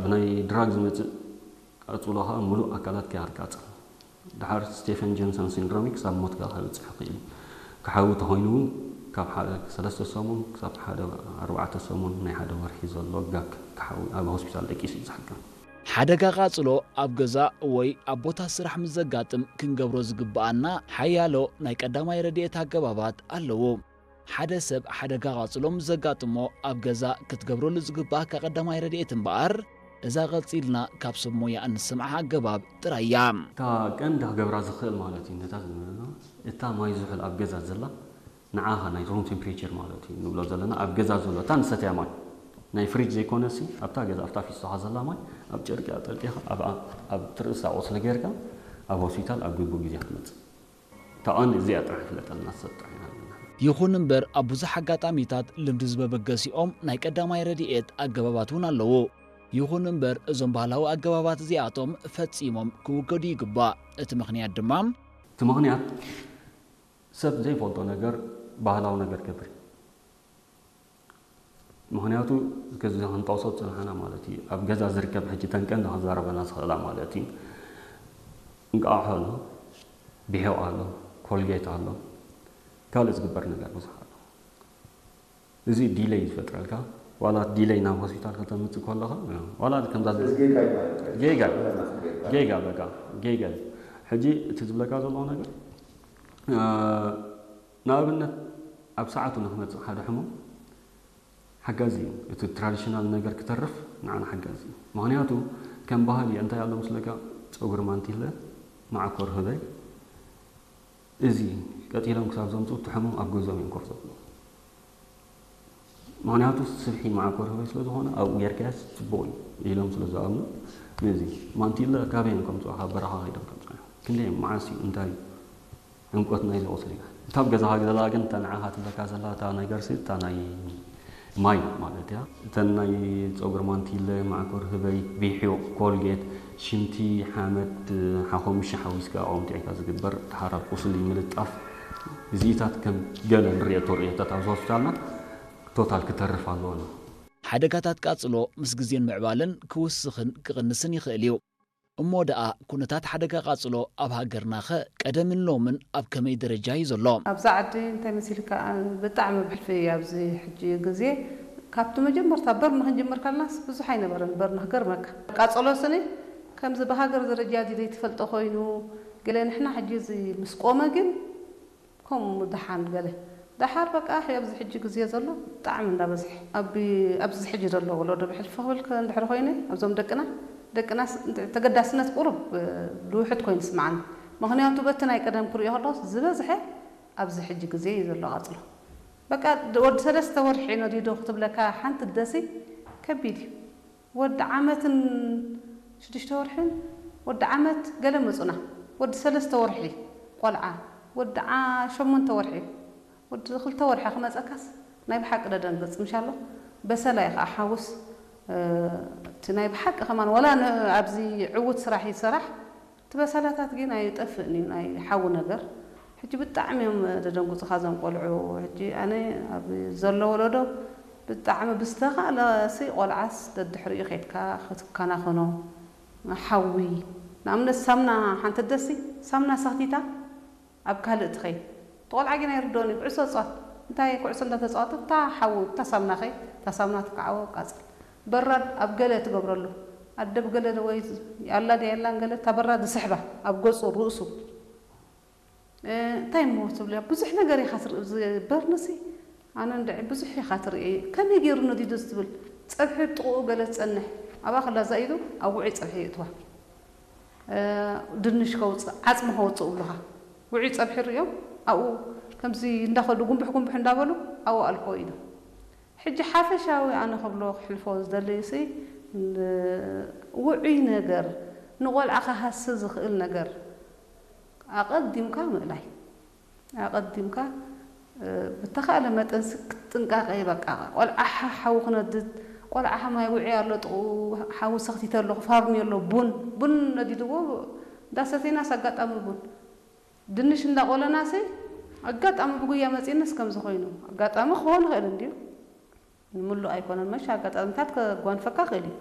ብናይ ድራግ ዝመፅእ ቃፅሎ ከዓ ሙሉእ ኣካላት ከያቃፅል። ድሓር ስቴፈን ጆንሰን ሲንድሮም ክሳብ ሞት ከዓ ከብፅሕ ይኽእል እዩ። ክሓዊ ተኮይኑ እውን ካብ ሓደ ሰለስተ ሰሙን ክሳብ ሓደ ኣርባዕተ ሰሙን ናይ ሓደ ወርሒ ዘሎ ጋክ ክሓዊ ኣብ ሆስፒታል ደቂሱ እዩ ዝሓክም። ሓደጋ ቃጽሎ ኣብ ገዛ ወይ ኣብ ቦታ ስራሕ ምስ ዘጋጥም ክንገብሮ ዝግብኣና ሓያሎ ናይ ቀዳማይ ረድኤት ኣገባባት ኣለዉ። ሓደ ሰብ ሓደጋ ቃጽሎ ምስ ዘጋጥሞ ኣብ ገዛ ክትገብረሉ ዝግብኣካ ቀዳማይ ረድኤት እምበኣር፣ እዛ ቀጺልና ካብ ሰብ ሞያ እንሰምዓ ኣገባብ ጥራይ እያ። እታ ቀንዲ ክገብራ ዝኽእል ማለት እዩ፣ ነታ ዝነበርና፣ እታ ማይ ዝሑል ኣብ ገዛ ዘላ ንዓኻ ናይ ሩም ቴምፕሬቸር ማለት እዩ ንብሎ ዘለና፣ ኣብ ገዛ ዘሎ እታ ንሰትያ ማይ ናይ ፍሪጅ ዘይኮነሲ ኣብታ ገዛ ኣብታ ፊስቶኻ ዘላ ማይ ኣብ ጨርቂ ኣጠርቂኻ ኣብ ኣብ ትርእሳ ቁስሊ ጌርካ ኣብ ሆስፒታል ኣብ ግቡእ ግዜ ክትመጽእ። እታ ቀንዲ እዚኣ ጥራሕ ይፍለጠልና፣ ሰብ ጥራሕ ኢና ዘለና። ይኹን እምበር ኣብ ብዙሕ ኣጋጣሚታት ልምዲ ዝበበገሲኦም ናይ ቀዳማይ ረድኤት ኣገባባት እውን ኣለዉ። ይኹን እምበር እዞም ባህላዊ ኣገባባት እዚኣቶም ፈጺሞም ክውገዱ ይግባእ። እቲ ምኽንያት ድማ እቲ ምኽንያት ሰብ ዘይፈልጦ ነገር ባህላዊ ነገር ገብር። ምኽንያቱ ከዚ ክንጠቕሶ ዝጸናሕና ማለት እዩ። ኣብ ገዛ ዝርከብ ሕጂ ተን ቀንዲ ክዛረበና ዝኽእላ ማለት እዩ። እንቃቑሖ ኣሎ፣ ብሒቕ ኣሎ፣ ኮልጌት ኣሎ፣ ካልእ ዝግበር ነገር ብዙሕ ኣሎ። እዚ ዲለይ ዝፈጥረልካ፣ ዋላ ዲለይ ናብ ሆስፒታል ከተምጽእ ከለኻ፣ ዋላ ከምዛ ዝ- እዚ ጌጋ ይባላል። ጌጋ፣ ጌጋ። ጌጋ፣ በቃ፣ ጌጋ እዩ። ሕጂ እቲ ዝብለካ ዘለኹ ነገር፣ እ፣ ንኣብነት ኣብ ሰዓቱ ንክመጽእ ሓደ ሕሙም ሓጋዚ እዩ። እቲ ትራዲሽናል ነገር ክተርፍ ንዓና ሓጋዚ እዩ። ምኽንያቱ ከም ባህሊ እንታይ ኣሎ ምስለካ፣ ጸጉሪ ማንቲለ፣ ማዕኮር ህበይ፣ እዚ ቀጺሎም ክሳብ ዘምጽኡ እቲ ሕሙም ኣብ ገዝኦም እዮም ኮፍ ዘብሉ። ምኽንያቱ ስብሒ መዓኮር ህበይ ስለ ዝኾነ ኣብኡ ጌርካያስ ጽቡቕ እዩ ኢሎም ስለ ዝኣምኑ፣ ነዚ ማንቲለ ካበይ እዮም ከምጽኡ፣ ካብ በረኻ ከይዶም ከምጽኡ እዮም። ክንደይ መዓስ እዩ፣ እንታይ እዩ ዕምቆት ናይዚ ቁስሊ? እታ ኣብ ገዛኻ ዘላ ግን እታ ንዓኻ ትብለካ ዘላ እታ ነገርሲ እታ ናይ ማይ ማለት እያ። እተን ናይ ጸጉሪ ማንቲለ፣ መዓኮር ህበይ፣ ቢሒቕ፣ ኮልጌት፣ ሽንቲ፣ ሓመድ፣ ሓኾምሺ ሓዊስካ ኣቑምጢዕካ ዝግበር ድሓር ኣብ ቁስሊ ምልጣፍ፣ እዚኢታት ከም ገለ ንርእየቶ ርእየታት ኣብዚ ሆስፒታልና ቶታል ክተርፍ ኣለዎ። ሓደጋታት ቃጽሎ ምስ ግዜን ምዕባለን ክውስኽን ክቕንስን ይኽእል እዩ። እሞ ደኣ ኩነታት ሓደጋ ቃጽሎ ኣብ ሃገርናኸ ቀደምን ሎምን ኣብ ከመይ ደረጃ እዩ ዘሎ? ኣብዛ ዓዲ እንታይ መሲልካ፣ ብጣዕሚ ብሕልፊ ኣብዚ ሕጂ ግዜ ካብቲ መጀመርታ በርን ክንጅምር ከለናስ ብዙሕ ኣይነበረን። በርን ክገርመካ ቃጸሎ ስኒ ከምዚ ብሃገር ደረጃ ድዩ ዘይትፈልጦ ኮይኑ፣ ገለ ንሕና ሕጂ እዚ ምስ ቆመ ግን ከምኡ ደሓን ገለ ደሓር በቃ፣ ሕጂ ኣብዚ ሕጂ ግዜ ዘሎ ብጣዕሚ እንዳበዝሐ። ኣብ-፣ ኣብዚ ሕጂ ዘሎ ወለዶ ብሕልፊ ክብል ከ-፣ እንድሕር ኮይነ፣ ኣብዞም ደቅና፣ ደቅናስ እንተ-፣ ተገዳስነት ቁሩብ፣ እ፣ ልውሕድ ኮይኑ ይስምዓኒ። ምኽንያቱ በቲ ናይ ቀደም ክሪኦ ከለኹስ ዝበዝሐ ኣብዚ ሕጂ ግዜ እዩ ዘሎ ቃጽሎ። በቃ ድ-፣ ወዲ ሰለስተ ወርሒ ነዲዶ ክትብለካ ሓንቲ ደሲ ከቢድ እዩ። ወዲ ዓመትን ሽዱሽተ ወርሕን፣ ወዲ ዓመት ገለ መጹና። ወዲ ሰለስተ ወርሒ ቆልዓ፣ ወዲ ዓ-፣ ሸሞንተ ወርሒ፣ ወዲ ክልተ ወርሒ ክመጸካስ ናይ ብሓቂ ደደንግጽ። ምሻሎ በሰላ እዩ ከኣ ሓውስ፣ እ፣ እቲ ናይ ብሓቂ ከማን ወላ ን-፣ ኣብዚ ዕዉት ስራሕ ይሰራሕ፣ እቲ በሰላታት ግን ኣይጠፍእን እዩ፣ ናይ ሓዊ ነገር። ሕጂ ብጣዕሚ እዮም ደደንጉጹኻ እዞም ቆልዑ። ሕጂ ኣነ ኣብ ዘሎ ወለዶ ብጣዕሚ ብዝተኻእለሲ ቆልዓስ ደድሕሪኡ ኬድካ ክትከናኸኖ፣ ሓዊ፣ ንኣብነት ሳምና፣ ሓንቲ ደሲ ሳምና ሰኽቲታ ኣብ ካልእ ትኸይድ። እቲ ቆልዓ ግን ኣይርድኦን እዩ፣ ኩዕሶ ጻወት። እንታይ ኩዕሶ እንዳተጻወተ እታ ሓዊ፣ እታ ሳምና ኸይ፣ እታ ሳምና ትከዓቦ ቃጽል። በራድ ኣብ ገለ ትገብረሉ። ኣደ ብገለ ወይ ኣላ ድያ የላን ገለ፣ እታ በራድ ዝስሕባ ኣብ ገጹ፣ ርእሱ። እ፣ እንታይ እሞ ትብልያ? ብዙሕ ነገር ኢኻ ትርኢ። እዚ በርንሲ፣ ኣነ እንድዒ ብዙሕ ኢኻ ትርኢ። ከመይ ገይሩ ነዲዱ ትብል? ጸብሒ ጥቕኡ ገለ ትጸንሕ። ኣብኣ ከላ እዛ ኢዱ ኣብ ውዑይ ጸብሒ የእትዋ። እ፣ ድንሽ ከውጽእ፣ ዓጽሚ ከውጽእ እብሉኻ። ውዑይ ጸብሒ ርእዮም፣ ኣብኡ ከምዚ እንዳኸዱ ጉንብሕ ጉንብሕ እንዳበሉ፣ ኣብኡ ኣልኮ ኢሉ። ሕጂ ሓፈሻዊ ኣነ ክብሎ ክሕልፎ ዝደሊ ሲ፣ ን-፣ ውዑይ ነገር፣ ንቆልዓ ክሃሲ ዝኽእል ነገር ኣቐዲምካ ምእላይ። ኣቐዲምካ፣ እ፣ ብተኻእለ መጠን ሲ ጥንቃቄ በቃ። ቆልዓ ሓ-፣ ሓዊ ክነድድ፣ ቆልዓ ማይ ውዑይ ኣሎ ጥቕኡ፣ ሓዊ ሰኽቲተ ኣለኹ፣ ፋርኒ ኣሎ፣ ቡን፣ ቡን ነዲድዎ፣ እንዳሰተይናስ ኣጋጣሚ ቡን። ድንሽ እንዳቆለናሲ ኣጋጣሚ ብጉያ መጺእንስ ከምዚ ኮይኑ። ኣጋጣሚ ክኾን ይኽእል እንድዩ። ንምሉእ ኣይኮነን። መሽ ኣጋጣሚታት ከጓንፈካ ይኽእል እዩ።